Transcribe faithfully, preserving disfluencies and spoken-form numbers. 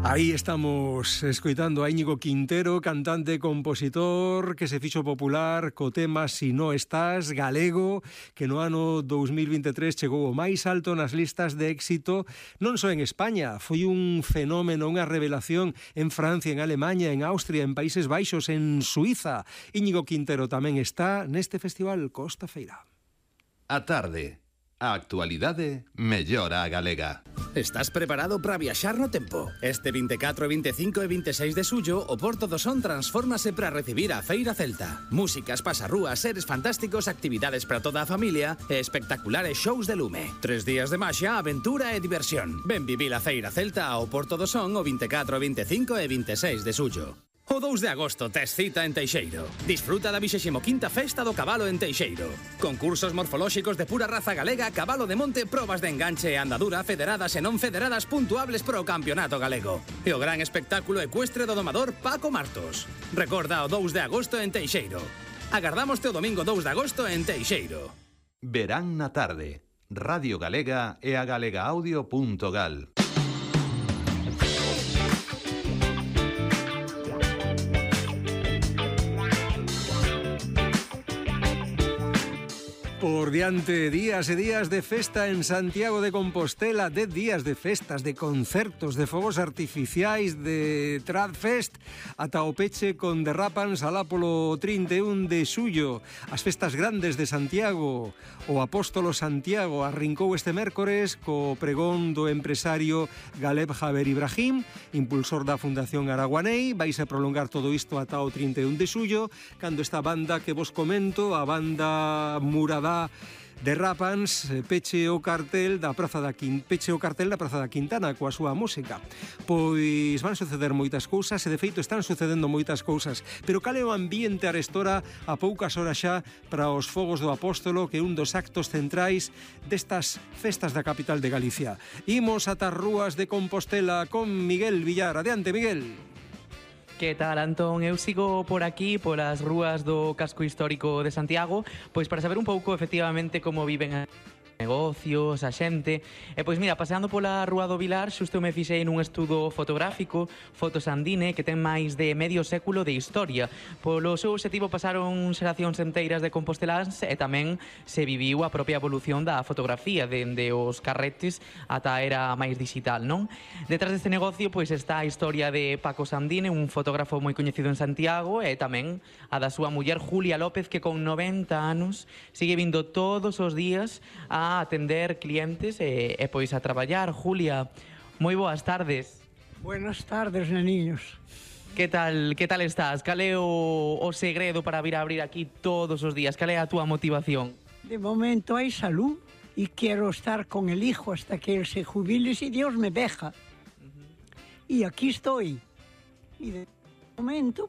Aí estamos escoitando a Íñigo Quintero, cantante e compositor que se fixo popular co tema Si no estás, galego, que no ano dous mil vinte e tres chegou o máis alto nas listas de éxito, non só en España, foi un fenómeno, unha revelación en Francia, en Alemanha, en Austria, en Países Baixos, en Suiza. Íñigo Quintero tamén está neste festival Costa Feira. A tarde, a actualidade mellora a galega. Estás preparado para viaxar no tempo? Este vinte e catro, vinte e cinco e vinte e seis de xullo, o Porto do Son transfórmase para recibir a Feira Celta. Músicas, pasarrúas, seres fantásticos, actividades para toda a familia e espectaculares shows de lume. Tres días de maxia, aventura e diversión. Ven vivir a Feira Celta ao Porto do Son o vinte e catro, vinte e cinco e vinte e seis de xullo. O dous de agosto tes cita en Teixeiro. Disfruta da vixésima quinta Festa do Cabalo en Teixeiro. Concursos morfolóxicos de pura raza galega, cabalo de monte, probas de enganche e andadura federadas e non federadas puntuables para o campeonato galego. E o gran espectáculo ecuestre do domador Paco Martos. Recorda o dous de agosto en Teixeiro. Agardámoste o domingo dous de agosto en Teixeiro. Verán na tarde. Radio Galega e a galegaaudio punto gal. Por diante, días e días de festa en Santiago de Compostela, de días de festas, de concertos, de fogos artificiais, de Tradfest, ata o peche con Derrapans alá polo trinta e un de xullo. As festas grandes de Santiago, o Apóstolo Santiago arrincou este mércores co pregón do empresario Galeb Jaber Ibrahim, impulsor da Fundación Araguanei. Vais a prolongar todo isto ata o trinta e un de xullo, cando esta banda que vos comento, a banda Muradá Derrapans, peche o cartel da Praza da Quintana, peche o cartel da Praza da Quintana coa súa música. Pois van suceder moitas cousas e de feito están sucedendo moitas cousas, pero cal é o ambiente arestora a poucas horas xa para os fogos do Apóstolo, que é un dos actos centrais destas festas da capital de Galicia. Imos ata as rúas de Compostela con Miguel Villar. Adiante, Miguel. Que tal, Antón? Eu sigo por aquí, polas rúas do casco histórico de Santiago, pois para saber un pouco, efectivamente, como viven negocios, a xente. E pois mira, paseando pola Rúa do Vilar, xusto me fixei nun estudo fotográfico, Fotosandine, que ten máis de medio século de historia. Polo seu objetivo pasaron xeracións enteiras de composteláns e tamén se viviu a propia evolución da fotografía, dende os carretes ata a era máis digital, non? Detrás deste negocio pois está a historia de Paco Sandine, un fotógrafo moi coñecido en Santiago, e tamén a da súa muller Julia López, que con noventa anos sigue vindo todos os días a a atender clientes e, e pois a traballar. Julia, moi boas tardes. Buenas tardes, neniños. Que tal, que tal estás? Cal é o, o segredo para vir a abrir aquí todos os días? Cal é a túa motivación? De momento hai salud e quero estar con el hijo hasta que él se jubile si Dios me deja. Uh-huh. E aquí estoy. E de momento,